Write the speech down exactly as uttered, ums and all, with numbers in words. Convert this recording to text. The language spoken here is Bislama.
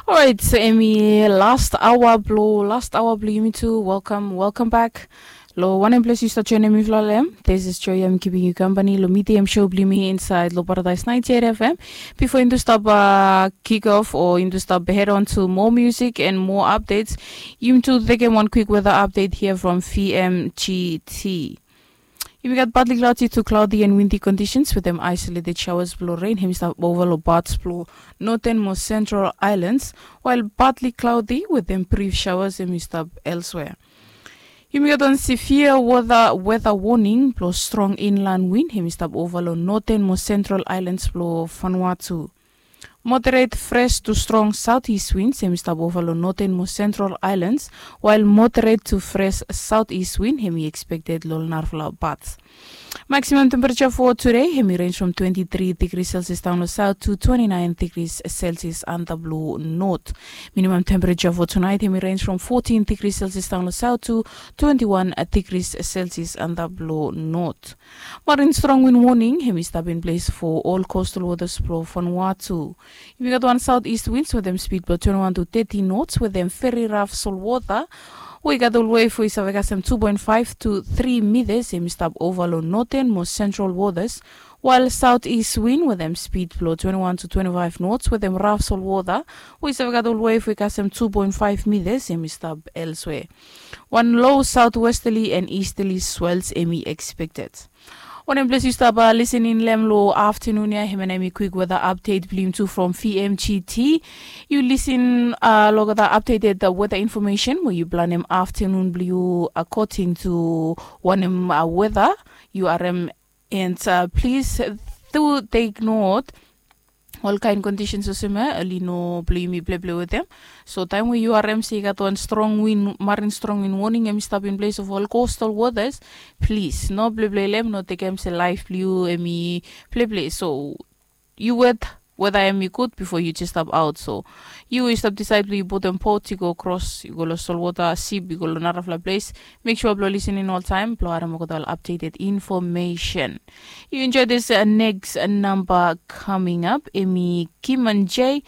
Orait, so em i last aoa blo last aoa blo yumi tu. Welcome, welcome back. Lo wanem ples yu stap joinim mifala lo em, this is Joy. Em giving you company lo medium show blo yumi inside lo Paradise ninety-eight F M. Before yumi tu stap uh, kick off or yumi tu stap head on to more music and more updates, yumi tu tekem wan quick weather update here from V M G T. Yumi gat partly cloudy to cloudy and windy conditions with them isolated showers blo rain. Hem i stap ova lo parts blo northern mo central islands, while partly cloudy with them brief showers hem i stap elsewhere. Yumi gat wan severe weather, weather warning blo strong inland wind hem i stap ova lo northern mo central islands blo Vanuatu. Moderate fresh to strong southeast winds hem i stap ova lo northern mo central islands, while moderate to fresh southeast wind hem i expected lo narafala parts. Maximum temperature for today hem i range from twenty-three degrees Celsius down lo south to twenty-nine degrees Celsius under blue north. Minimum temperature for tonight hem i range from fourteen degrees Celsius down lo south to twenty-one degrees Celsius under blue north. Marin strong wind warning hem i stap in place for all coastal waters blo Vanuatu. Yumi gat wan southeast winds with them speed blo twenty-one to thirty knots with them very rough sol water. We gat olwei fo i save kasem two point five to three meters hem i stap ova lo northern mo central waters, while southeast wind with them speed blo twenty-one to twenty-five knots with them rough sol water. We save gat olwei fo i kasem two point five meters hem i stap elsewhere. Wan low southwesterly and easterly swells hem i expected. Wanem ples yu stap uh, listening lo em lo afternoon ya, hem and hem i quick weather update blo yumi tu from V M G T. Yu listen uh, lo the updated uh, weather information we yu planem afternoon blo yu according to wanem uh, weather yu are em. And uh, please do take note, ol kaen conditions olsem ya oli no blo yumi pleple wetem. So taem we yu harem se i gat wan strong wind, marin strong wind warning hem i stap in place of ol coastal waters, plis no pleple long hem, no tekem se laef blo yu hem i pleple. So yu wet weda hem i gud bifo yu jes stap aot. So yu i stap disaed blo yu putum bot i go kros, i go long solwota, sip i go long narafala ples. Mek sua blo lisening oltaem blo harem olgeta ol updated information. Yu enjoe dis neks namba kaming ap, hem i Kim and Jay.